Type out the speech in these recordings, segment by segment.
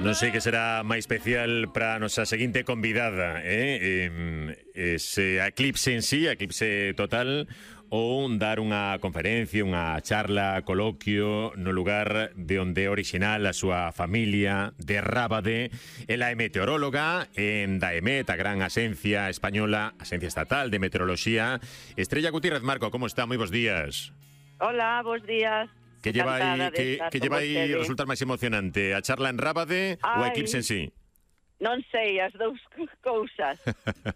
Non sei que será máis especial para a nosa seguinte convidada, se a eclipse en sí, a eclipse total, ou dar unha conferencia, unha charla, coloquio no lugar de onde é original a súa familia, de Rábade. Ela é meteoróloga en DAEMET, a gran axencia española, axencia estatal de meteoroloxía. Estrella Gutiérrez Marco, como está? Moi bos días. Hola, bos días. Que lle vai resultar máis emocionante, a charla en Rábade ou a eclipse en sí? Non sei, as dous cousas.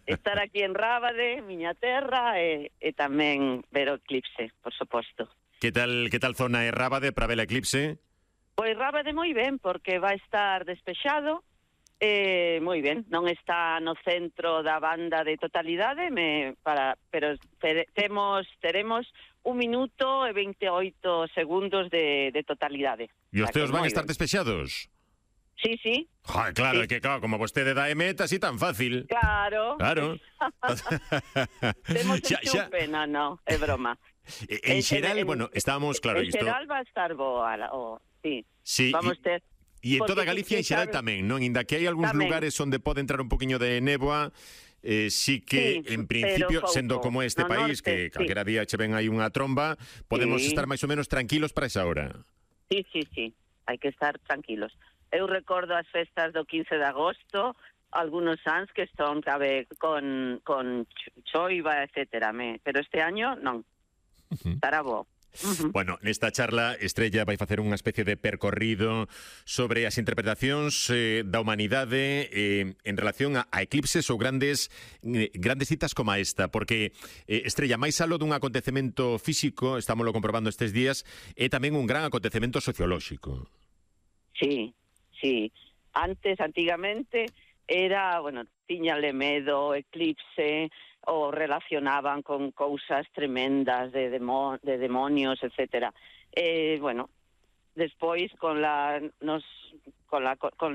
Estar aquí en Rábade, miña terra, e tamén ver o eclipse, por suposto. Que tal zona é Rábade para ver a eclipse? Pois Rábade moi ben, porque vai estar despexado, moi ben, non está no centro da banda de totalidade, pero teremos 1 minuto e 28 segundos de totalidade. E os teus van estar despexados? Sí, sí. Claro, sí. É que como vostede da EMET, así tan fácil. Claro. Temos chupe, no, é broma. En xeral, bueno, estábamos, claro... En xeral va a estar boa, sí. Vamos ter... E en toda Galicia en xeral tamén, non? Inda que hai algúns lugares onde pode entrar un poquinho de néboa, sí que, en principio, sendo como este país, que calquera día che ven aí unha tromba, podemos estar máis ou menos tranquilos para esa hora. Sí, hai que estar tranquilos. Eu recordo as festas do 15 de agosto, algunos anos que están con choiva, etcétera, pero este año non. Estará bo. Bueno, nesta charla Estrella vai facer unha especie de percorrido sobre as interpretacións da humanidade en relación a eclipses ou grandes citas como esta, porque Estrella, máis aló dun acontecemento físico, estámoslo comprobando estes días, é tamén un gran acontecemento sociolóxico. Sí. Antigamente era, tiñale medo, eclipse, o relacionaban con cousas tremendas de demonios, etcétera. Despois con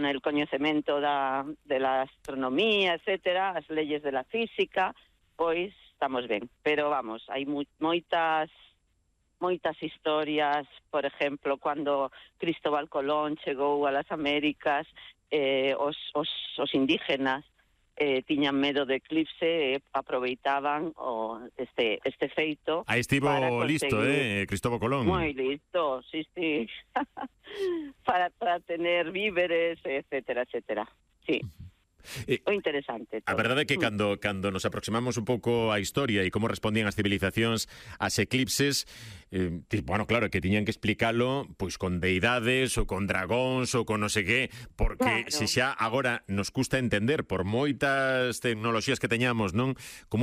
el coñecemento de la astronomía, etcétera, as leyes de la física, pois estamos ben. Pero vamos, hai moitas historias, por ejemplo, cando Cristóbal Colón chegou a las Américas, os indígenas tiñan medo de eclipse e aproveitaban este feito. Aí estivo listo, Cristóbal Colón. Moi listo, sí. para tener víveres, etcétera. Sí. O interesante. A verdade é que cando nos aproximamos un pouco á historia e como respondían as civilizacións ás eclipses, claro, que tiñan que explicalo pois con deidades ou con dragóns ou con non sei que, porque se xa agora nos custa entender por moitas tecnoloxías que teñamos, non? Como